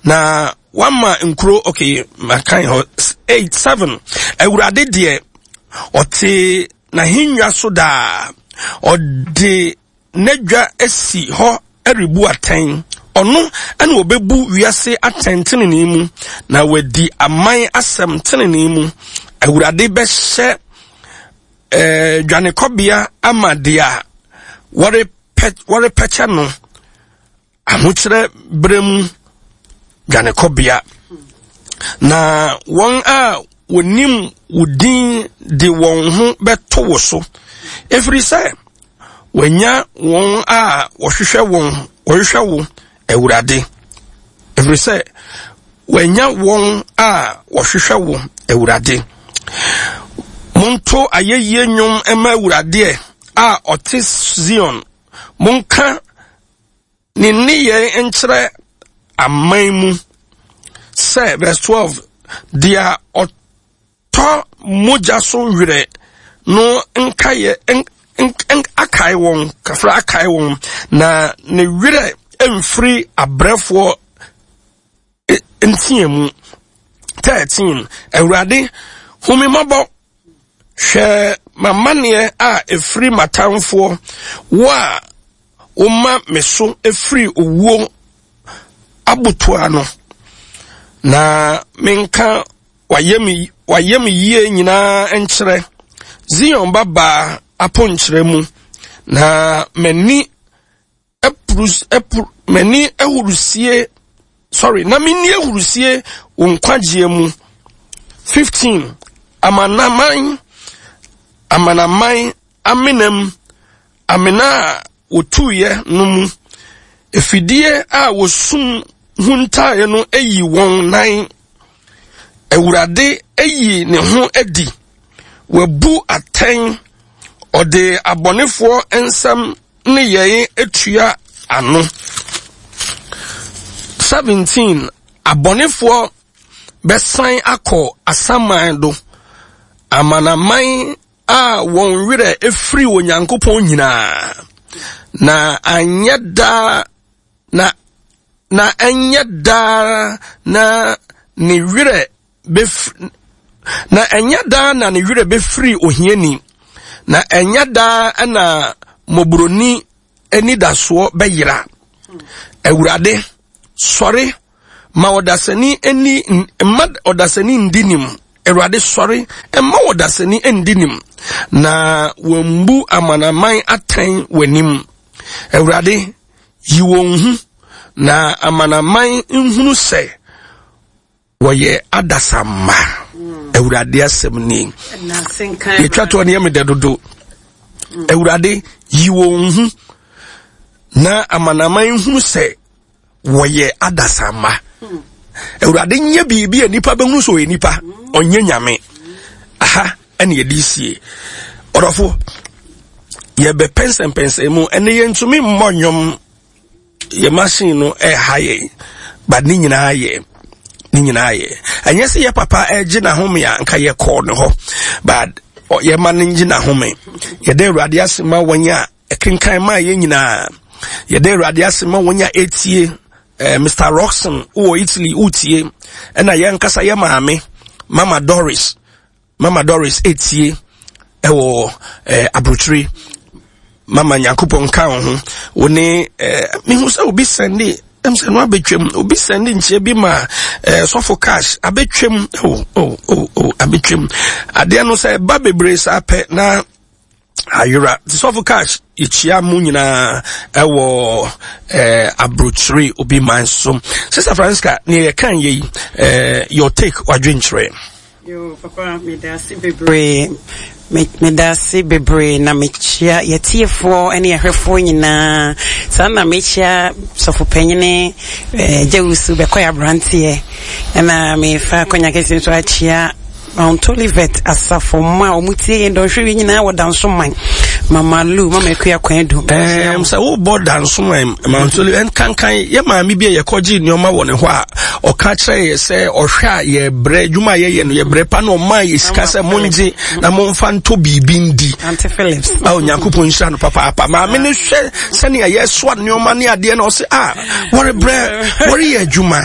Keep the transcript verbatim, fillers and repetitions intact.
Na wama nkuro, okay, makan hɔ. Eight, seven. Awurade deɛ, ɔte n'ahennwa so daa. Ɔde n'adwa asi hɔ rebu atɛn. Ɔno na ɔbɛbu wiase atɛn tenenee mu, na wadi aman asɛm tenenee mu. Awurade bɛhyɛ eh, dwanekɔbea ama deɛ a wɔrepɛ wɔrepɛkyɛ no, ahokyerɛ berɛ mu dwanekɔbea. Na wɔn a wɔnim wo din de wɔn ho bɛto wo so, ɛfiri sɛ wɔanya wɔn a wɔhwehwɛ wɔn wɔhwehwɛ wo, Awurade. Ɛfiri sɛ wɔanya wɔn a wɔhwehwɛ wo, Awurade. Monto ayɛyie nnwom mma Awurade a ɔte Sion. Monka ne nneyɛe nkyerɛ aman mu sɛ, verse twelve, deɛ ɔtɔ mogya so werɛ no nkaeɛ akae wɔn, kafra akae wɔn, na ne werɛ mfiri abrɛfoɔ nteamu. Thirteen, Awurade, hu me mmɔbɔ, hwɛ m'amanneɛ a ɛfiri m'atamfoɔ, wo a woma me so ɛfiri owuo abotoa no, na menka wayɛ me yie nyinaa nkyerɛ Zion babaa aponkyerɛ mu, na m'ani m'ani ahurusie, sorry, na menni ahurusie wo nkwagyeɛ mu. Fifteen, amanaman amanaman amenam, amena a wɔtuiɛ no mu, efidie a wɔsum huntaeɛ no ayi wɔn nan. Awurade ayi ne ho adi, wabu atɛn, ɔde abɔnefoɔ nsɛm ne yɛn atua ano. Seventeen, abɔnefoɔ bɛsan akɔ asaman do, amanaman a wɔn werɛ efiri Onyankopɔn nyinaa, na anyɛ daa na na ɛnyɛ daa na ne werɛ bɛfiri na ɛnyɛ daa na ne werɛ bɛfiri ohiani, na ɛnyɛ daa na mmɔborɔni anidasoɔ bɛyera. Awurade, sɔre ma ɔdasani ani mma ɔdasani ndi nim. Awurade, sɔre mma ɔdasani ndi nim, na wɔmbu amanaman atɛn w'anim. Awurade, yi wɔn hu, na amanaman nhunu sɛ wɔyɛ adasamma. Awurade asɛm ni. Yɛtwa toɔ no yɛ medɛ dodo. Awurade, yi wɔn hu, na amanaman nhunu sɛ wɔyɛ adasamma. Awurade nyɛ biribi a nipa bɛhunu sɛ ɔyɛ nipa, ɔnyɛ nyame. Aha ɛne yɛde sie. Ɔdɔfo, yɛbɛpɛnsɛmpɛnsɛn mu, ɛne yɛntumi mmɔ nnwom, yɛ machine no ɛha yɛn, but ne nyinaa yɛ ne nyinaa yɛ ɛnyɛ sɛ yɛ papa ɛgye n'ahome a nka yɛkɔɔ ne hɔ, but yɛma no ngye n'ahome. Yɛda Awurade ase ma wɔn a ɛkenkan maa yɛn nyinaa. Yɛda Awurade ase ma wɔn a ɛtie. eh, Mister Roxon wɔ Italy wotie, ɛna yɛn nkasa yɛ maame Mama Doris, Mama Doris etie ɛwɔ eh, aburokyire. Mama, Nyankopɔn nka wo ho. Wo ne eh, mehu sɛ obi sɛnde ɛm sɛ no abɛtwam, obi sɛnde nkyia bi ma eh, sɔfo cash abɛtwam. oh, oh, oh, oh, abɛtwam. Adeɛ no sɛ ɛba bebree saa pɛ na ayera. Nti sɔfo cash, yɛkyia mu nyinaa ɛwɔ eh, aburokyire obi man so. Sister Francisca, neɛ yɛka yɛ yi, eh, your take, wadwenkyerɛ. Yo, papa, meda ase bebree. Meda ase bebree na mekyia yɛtiefoɔ ne yɛhwɛfoɔ nyinaa. Saa na mekyia sɔfo panyini eh, Gyawusu bɛkɔ yɛ aberanteɛ, ɛna mefa akɔnya kɛse nso akyia Mount Olivet asafo mma a wɔn tie yɛn dɔnhwere nyinaa wɔ Dansoman, Mama Lu, Mama Akua Kwan Du. Ɛɛm sɛ wobɔ Dansoman Mount Olivet nkankan, yɛ maame bi a yɛkɔgye nneɛma wɔ ne hɔ a ɔka kyerɛ yɛ sɛ ɔhwɛ a yɛbrɛ adwuma a yɛyɛ no, yɛbrɛ pa na ɔmaa yɛ sika sɛ mongye na momfa ntɔ biribi ndi. Auntie Phillips. A Onyankopɔn nhyira no papaapa. Maame no hwɛ sɛnea yɛsoa nneɛma ne adeɛ na ɔse a wɔrebrɛ, wɔreyɛ adwuma.